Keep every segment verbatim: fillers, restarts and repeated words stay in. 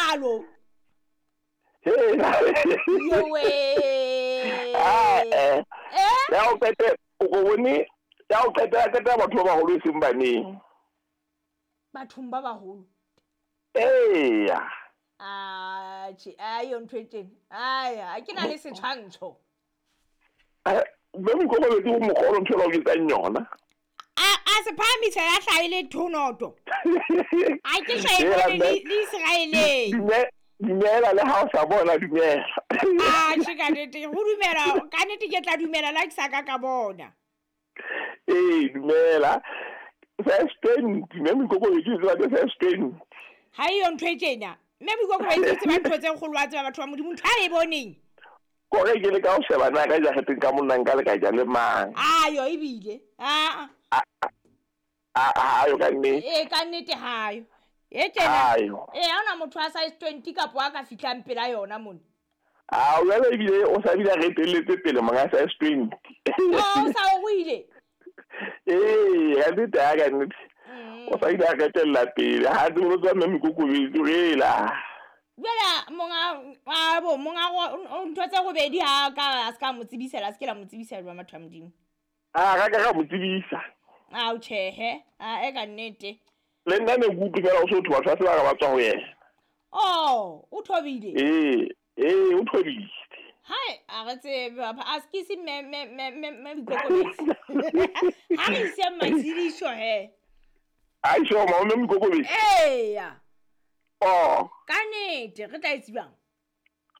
jwalo. Yowe. Ah eh. Ya o qete o bone ya o qetela qetela batho ba baholo e seng baneng. Bathong ba baholo. Eya. Ah, che, ayo ntho e tjena. Ai, a ke na le setshwantsho. Eh, mme moikokobetsi o mogolo ntho e ba o etsang yona. A a se phahamisa ya hlahile thonoto. A ke hlahe le le Israeleng. Dumela le ha o sa bona dumela. Ah, che ka nnete, ho dumela, ka nnete ke tla dumela la ke sa ka ka bona. Eh, dumela. First twenty, mme moikokobetsi o tseba ke first twenty. Ha eyo ntho e tjena. Mme moikokobetsi o tseba ntho tse kgolo wa tseba batho ba Modimo ntho a e boneng. Kore ke le ka o sheba na ka jareteng ka monna nka le ka ja le mang. Ayo ebile. Ah. Ah ah ayo ka nnete. Eh ka nnete hayo. E tjena. Eh ha ona motho a size twenty kapo a ka fihlang pela yona mona. Ah o jwale ebile o sa bile re telletse pele monga size twenty. Oh o sa o ile. Eh ha nnete ha ka nnete. O sa ile a retella pele ha tsebo tsa mme moikokobetsi rela. Jwale monga a bo monga ntho tse robedi ha ka a ska mo tsebisela, a se ke la mo tsebisa jwa matho a Modimo. Ah ka ka mo tsebisa. Ah o tjhehe, ah e ka nnete. Le nna ne ke utlwe fela o so thwa batho ba se ba ba tswa ho yena. Oh, o thobile. Eh, eh o thobile. Hai, a re tsebe a se ke se me me me me moikokobetsi. Ha re ise matshediso he. Ai sho ma mme moikokobetsi. Eya. Oh. Ka nnete re tla e tsebang.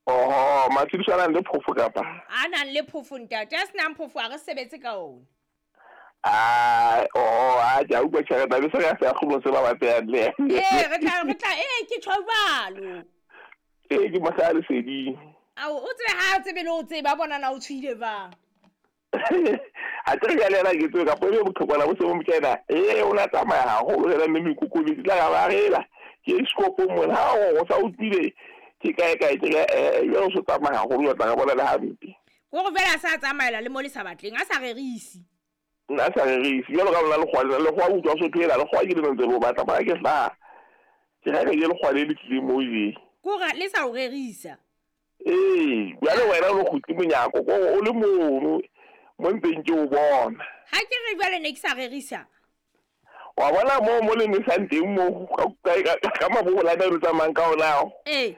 Oh, matshediso a nang le phofo kapa? A nang le phofo ntate, a senang phofo a re sebetse ka ona. Ah, oh, a ja utlwa tjhelete be se re sa kgolo se ba batlang le. Eh, re tla re tla eh ke tjho jwalo. Eh ke mosadi leseding. Ao o tsebe ha o tsebe le o tseba bona na o tshwile bang. Ha tsere ya lela ke tsebe ka pele botlhokwa bo se bo mokena. Eh o la tsamaya haholo le mme moikokobetsi tla ga ba rela. Ke scopo mona ha o sa utlwile ke kae kae ke eh yo o tsamaya haholo o tla ga bona le hampe. Go go fela sa tsamaela le mo le sa batleng a sa rerise. Nna sa rerise jalo ka bona lekgwa lekgwa utlwa so thwela lekgwa ke le ntse bo batla ba ke hla. Ke ga ke lekgwa le le tlile mo je. Go ga le sa o rerisa. Eh, jwale wena o kgutli monyako ko o le mono mo nteng ke o bona. Ha ke re jwale ne ke sa rerisa. Wa bona mo mo le nesang teng mo ka ka mabola a re tsamayang ka ona. Eh.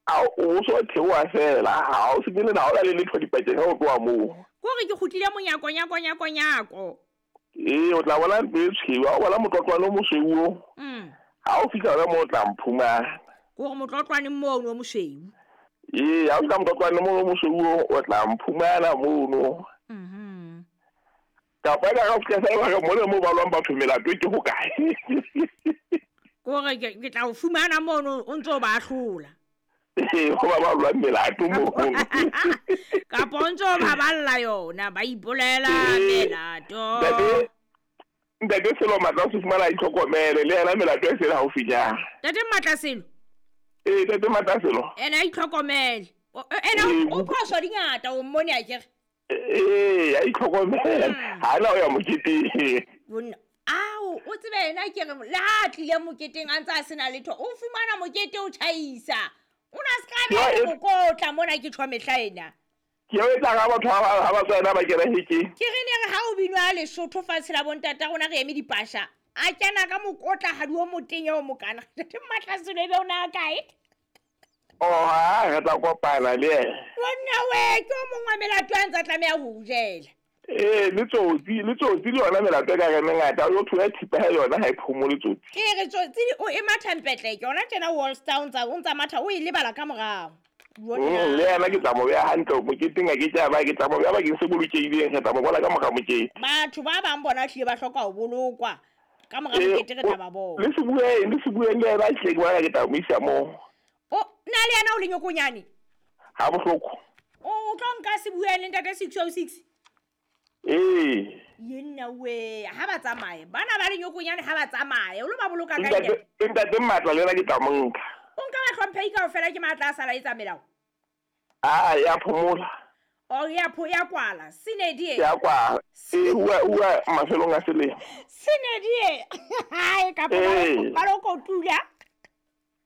A o so theoha fela ha o se ke le na o la le letho dipakeng ha o tloha moo. Ko re ke kgutlile monyako nyako nyako nyako. Eh o tla bona ntlo e tshweu, o bona motlotlwane o mosweu o. Mm. Ha o fihla hona moo o tla mphumana. Ko re motlotlwane mono o mosweu. Eh ha o fihla motlotlwane mono o mosweu o tla mphumana mono. Mhm. Kapa ka ga o fihla fela re mole mo balwang batho melato ke ho kae. Ko re ke tla o fumana mono o ntso ba hlola. Eh go ba balwang melato mo. Ka pontso ba balla yona ba ipolela melato. Ntate Ntate Selo Matla o se fumana itlhokomele le yena melato e sele haufinyana. Ntate Matla Selo. Eh Ntate Matla Selo. Ena itlhokomele. Ena o phoso dingata o mmone a kere. Eh a itlhokomele. Ha na o ya moketeng. Bona ao o tsebe ena ke re le ha tlile moketeng a ntse a sena letho o fumana mokete o tjhaisa. O na ska be mokotla mona ke tjho mehla ena. Ke o etsa ga batho ha ba tsena ba kena hekeng. Ke re ne re ha o binwa Lesotho fatshe la bontata rona re eme dipasha. A kena ka mokotla ha di o motenya o mokana. Ntate Matla Selo ebe o na kae? Oh ha re tla kopana le yena. Wena we ke o mongwe melato a ntsa tlameha ho jela. Eh le tsotsi le tsotsi le yona melato ka re mengata o thola thipa ha yona ha e phomole tsotsi. Ke re tsotsi o e matha mpetle ke yona tjena Wall Town tsa o ntsa matha o e lebala ka morao. Mm, le yena ke tla mo beha hantle moketeng a ke tla ba ke tla mo beha bakeng se bolokehileng re tla mo bona ka mora mokete. Batho ba bang bona hlile ba hloka ho bolokwa ka mora mokete re tla ba bona. Le se bueng le se bueng le yena hle ke bona ke tla mo isa moo. O na le yena o le nyokonyane? Ha bohloko. O tlo nka se bueng le ntate six oh six? Eh. Yenna we ha ba tsamaye. Bana ba le nyokonyane ha ba tsamaye. O lo ba boloka ka ntate. Ntate Matla le yena ke tla mo nka. O nka ba hlomphehi kaofela ke matla a sala etsa melao. Ah ya phomola. O ya pho ya kwala. Sinedie. Ya kwala. Eh ua ua mafelong a selemo. Sinedie. Hai ka ba lo kotula.